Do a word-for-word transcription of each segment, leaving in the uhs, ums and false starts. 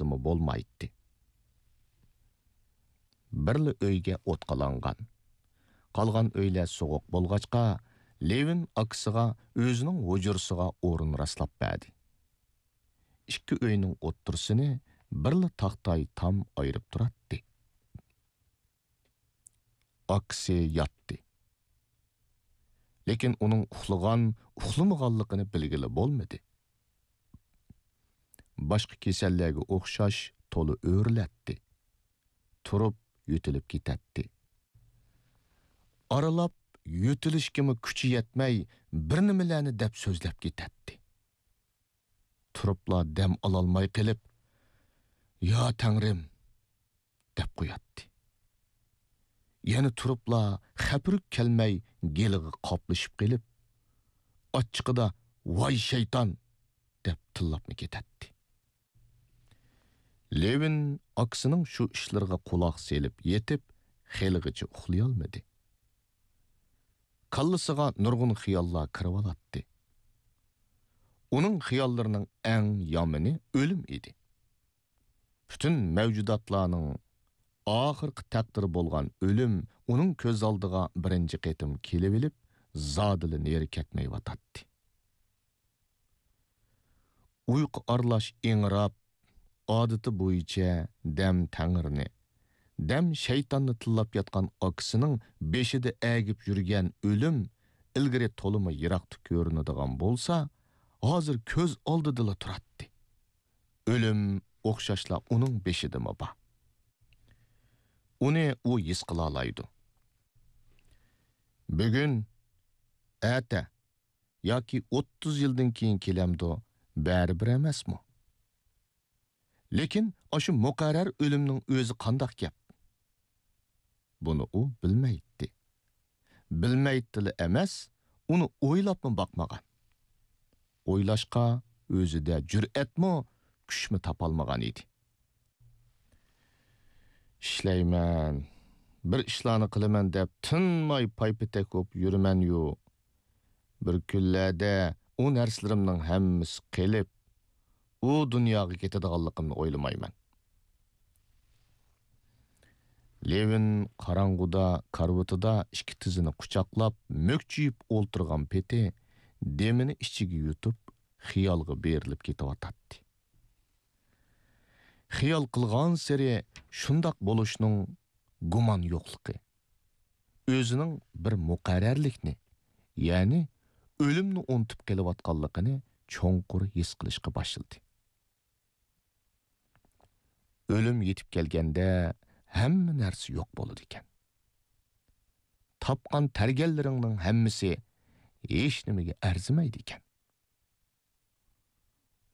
ئويلاشقىمۇ بولمايتتى. بىرلا ئۆيگە ئوت قالانغان. قالغان ئۆيلەر سوغۇق بولغاچقا، لېۋىن ئاكىسىغا ئۆزىنىڭ ھۇجرىسىغا ئورۇن راسلاپ بەردى. ئىككى ئۆينىڭ ئوتتۇرىسىنى بىرلا تاختاي تام ئايرىپ تۇراتتى. ئاكىسى ياتتى. لېكىن ئۇنىڭ ئۇخلىغان، ئۇخلىمىغانلىقىنى بىلگىلى بولمىدى. باشقا كېسەللەرگە ئوخشاش تولا ئۆرۈلەتتى. تۇرۇپ يۆتىلىپ كېتەتتى. ئارىلاپ يۆتىلىشكىمۇ كۈچى يەتمەي، بىر نېمىلەرنى دەپ سۆزلەپ كېتەتتى. تۇرۇپلا دەم ئالالماي قېلىپ، «يا تەڭرىم!» دەپ قوياتتى. يەنە تۇرۇپلا خەپىرىك كەلمەي گېلىغا قاپلىشىپ قېلىپ، ئاچچىقىدا، «ۋاي شەيتان!» دەپ تىللاپمۇ كېتەتتى. لېۋىن ئاكىسىنىڭ شۇ ئىشلىرىغا قۇلاق سېلىپ يېتىپ، خېلىغىچە ئۇخلىيالمىدى. كاللىسىغا نۇرغۇن خىياللار كىرىۋالاتتى. ئۇنىڭ خىياللىرىنىڭ ئەڭ يامىنى ئۆلۈم ئىدى. پۈتۈن مەۋجۇداتلارنىڭ ئاخىرقى تەقدىرى بولغان ئۆلۈم ئۇنىڭ كۆز ئالدىغا بىرىنچى قېتىم كېلىۋېلىپ، زادىلا نېرى كەتمەيۋاتاتتى. ئۇيقۇ ئارىلاش ئىڭراپ، ئادىتى بويىچە دەم تەڭرىنى، دەم شەيتاننى تىللاپ ياتقان ئاكىسىنىڭ بېشىدا ئەگىپ يۈرگەن ئۆلۈم ئىلگىرى تولىمۇ يىراقتا كۆرۈنىدىغان بولسا، ھازىر كۆز ئالدىدىلا تۇراتتى. ئۆلۈم ئوخشاشلا ئۇنىڭ بېشىدىمۇ بار. ئۇنى ئۇ ھېس قىلالايدۇ. بۈگۈن، ئەتە ياكى ئوتتۇز يىلدىن كېيىن كېلەمدۇ، بەرىبىر ئەمەسمۇ؟ لېكىن ئاشۇ مۇقەررەر ئۆلۈمنىڭ ئۆزى قانداق گەپ؟ بۇنى ئۇ بىلمەيتتى. بىلمەيتتىلا ئەمەس، ئۇنى ئويلاپمۇ باقمىغان. ئويلاشقا ئۆزىدە جۈرئەتمۇ، كۈچمۇ تاپالمىغان ئىدى. ئىشلەيمەن، بىر ئىشلارنى قىلىمەن دەپ تىنماي پايپېتەك بولۇپ يۈرىمەنيۇ. بىر كۈنلەردە ئۇ نەرسىلىرىمنىڭ ھەممىسى قېلىپ، ئۇ دۇنياغا كېتىدىغانلىقىمنى ئويلىمايمەن. لېۋىن قاراڭغۇدا كارىۋىتىدا ئىككى تىزىنى قۇچاقلاپ مۆكچىيىپ ئولتۇرغان پېتى دېمىنى ئىچىگە يۇتۇپ، خىيالغا بېرىلىپ كېتىۋاتاتتى. خىيال قىلغانسېرى شۇنداق بولۇشنىڭ گۇمان يوقلۇقى، ئۆزىنىڭ بىر مۇقەررەرلىكنى، يەنى ئۆلۈمنى ئۇنتۇپ قېلىۋاتقانلىقىنى چوڭقۇر ھېس قىلىشقا باشلىدى. ئۆلۈم يېتىپ كەلگەندە ھەممە نەرسە يوق بولىدىكەن. تاپقان تەرگەنلىرىڭنىڭ ھەممىسى ھېچنېمىگە ئەرزىمەيدىكەن.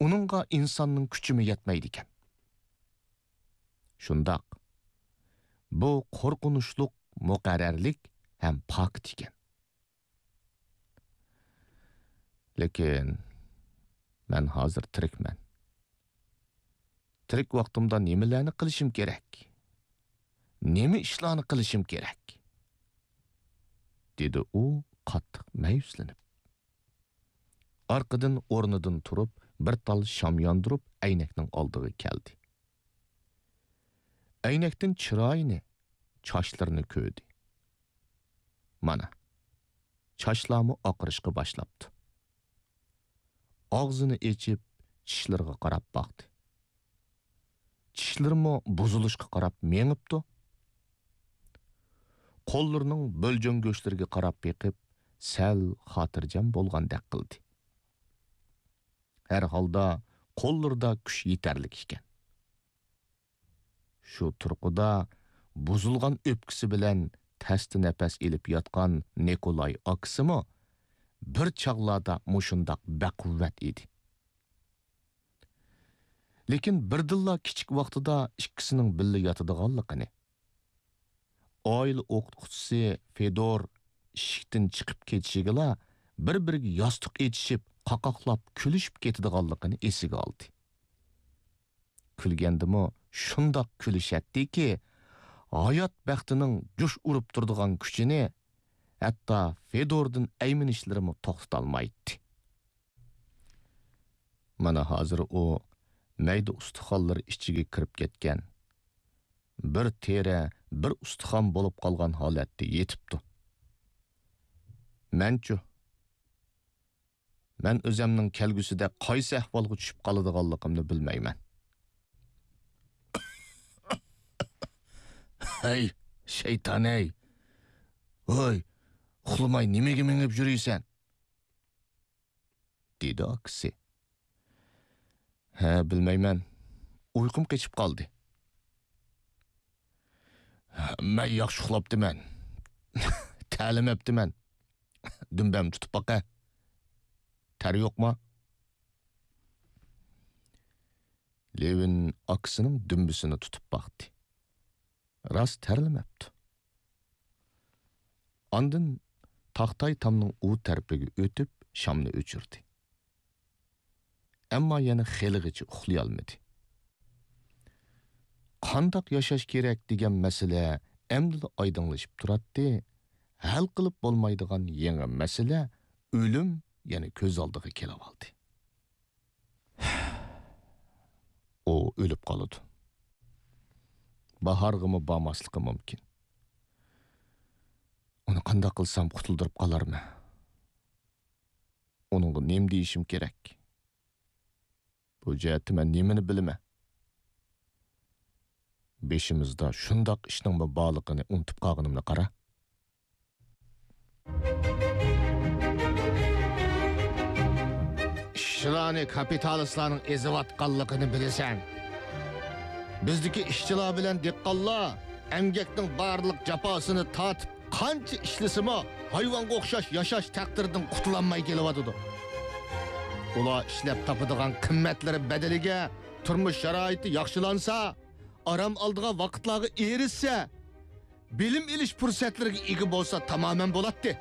ئۇنىڭغا ئىنساننىڭ كۈچىمۇ يەتمەيدىكەن. شۇنداق، بۇ قورقۇنچلۇق مۇقەررەرلىك ھەم پاكىت ئىكەن. لېكىن مەن ھازىر تىرىكمەن. تىرىك ۋاقتىمدا نېمىلەرنى قىلىشىم كېرەك؟ نېمە ئىشلارنى قىلىشىم كېرەك؟ دېدى ئۇ قاتتىق مەيۈسلىنىپ. ئارقىدىن ئورنىدىن تۇرۇپ، بىر تال شام ياندۇرۇپ، ئەينەكنىڭ ئالدىغا كەلدى. ئەينەكتىن چىرايىنى، چاچلىرىنى كۆردى. مانا، چاچلارمۇ ئاقىرىشقا باشلاپتۇ. ئاغزىنى ئېچىپ، چىشلىرىغا قاراپ باقتى. چىشلىرىمۇ بۇزۇلۇشقا قاراپ مېڭىپتۇ. قوللىرىنىڭ بۆلجەڭ گۆشلىرىگە قاراپ بېقىپ، سەل خاتىرجەم بولغاندەك قىلدى. ھەر ھالدا قوللىرىدا كۈچ يېتەرلىك ئىكەن. شۇ تۇرقىدا بۇزۇلغان ئۆپكىسى بىلەن تەستە نەپەس ئېلىپ ياتقان نىكولاي ئاكىسىمۇ بىر چاغلاردا مۇشۇنداق بەقۇۋۋەت ئىدى. لېكىن بىردىنلا كىچىك ۋاقتىدا ئىككىسىنىڭ بىللە ياتىدىغانلىقىنى، ئائىلە ئوقۇتقۇچىسى فېدور ئىشىكتىن چىقىپ كېتىشىگىلا بىر-بىرىگە ياستۇق ئېچىشىپ، قاقاقلاپ كۈلۈشۈپ كېتىدىغانلىقىنى ئېسىگە ئالدى. كۈلگەندىمۇ شۇنداق كۈلۈشەتتىكى، ھايات بەختىنىڭ جۇش ئۇرۇپ تۇرىدىغان كۈچىنى ھەتتا فېدوردىن ئەيمىنىشلىرىمۇ توختىتالمايتتى. مانا ھازىر ئۇ مەيدە ئۇستىخانلىرى ئىچىگە كىرىپ كەتكەن، بىر تېرە، بىر ئۇستىخان بولۇپ قالغان ھالەتتە يېتىپتۇ. مەنچۇ؟ مەن ئۆزەمنىڭ كەلگۈسىدە قايسى ئەھۋالغا چۈشۈپ قالىدىغانلىقىمنى بىلمەيمەن. ھەي، شەيتان-ھەي! ھوي، ئۇخلىماي نېمىگە مېڭىپ يۈرىسەن؟ دېدى ئاكىسى. ھە، بىلمەيمەن. ئۇيقۇم قېچىپ قالدى. مەن ياخشى ئۇخلاپتىمەن. تەلىمەپتىمەن. دۈمبەمنى تۇتۇپ باقە. تەر يوقما؟ لېۋىن ئاكىسىنىڭ دۈمبىسىنى تۇتۇپ باقتى. راست تەرلىمەپتۇ. ئاندىن تاختاي تامنىڭ ئۇ تەرىپىگە ئۆتۈپ، شامنى ئۆچۈردى. ئەمما يەنە خېلىغىچە ئۇخلىيالمىدى. قانداق ياشاش كېرەك دېگەن مەسىلە ئەمدىلا ئايدىڭلىشىپ تۇراتتى، ھەل قىلىپ بولمايدىغان يېڭى مەسىلە ئۆلۈم يەنە كۆز ئالدىغا كېلىۋالدى. ئۇ ئۆلۈپ قالىدۇ. باھارغىمۇ بارماسلىقى مۇمكىن. ئۇنى قانداق قىلسام قۇتۇلدۇرۇپ قالارمەن؟ ئۇنىڭغا نېمە دېيىشىم كېرەك؟ بۇ جەھەتتە مەن نېمىنى بىلىمەن؟ بېشىمىزدا شۇنداق ئىشنىڭمۇ بارلىقىنى ئۇنتۇپ قالغىنىمنى قارا. ئىشچىلارنى كاپىتالىستلارنىڭ ئېزىۋاتقانلىقىنى بىلىسەن. بىزدىكى ئىشچىلار بىلەن دېھقانلار ئەمگەكنىڭ بارلىق جاپاسىنى تارتىپ، قانچە ئىشلىسىمۇ، ھايۋانغا ئوخشاش ياشاش تەقدىرىدىن قۇتۇلالماي كېلىۋاتىدۇ. ئۇلار ئىشلەپ تاپىدىغان قىممەتلىرى بەدىلىگە تۇرمۇش شارائىتى ياخشىلانسا، ئارام ئالىدىغان ۋاقىتلارغا ئېرىشسە، بىلىم ئېلىش پۇرسەتلىرىگە ئىگە بولسا تامامەن بولاتتى.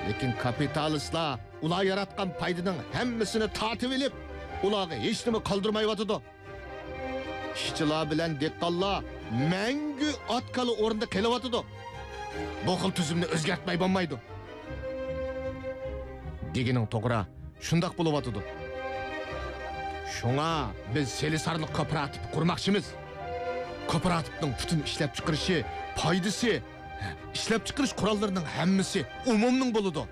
لېكىن كاپىتالىستلار ئۇلار ياراتقان پايدىنىڭ ھەممىسىنى تارتىۋېلىپ، ئۇلارغا ھېچنېمە قالدۇرمايۋاتىدۇ. ئىشچىلار بىلەن دېھقانلار مەڭگۈ ئات-كالا ئورنىدا قېلىۋاتىدۇ. بۇ خىل تۈزۈمنى ئۆزگەرتمەي بولمايدۇ. دېگىنىڭ توغرا، شۇنداق بولۇۋاتىدۇ. شۇڭا بىز سېلىسارلىق كوپىراتىپى قۇرماقچىمىز. كوپىراتىپنىڭ پۈتۈن ئىشلەپچىقىرىشى، پايدىسى، ئىشلەپچىقىرىش قوراللىرىنىڭ ھەممىسى ئومۇمنىڭ بولىدۇ.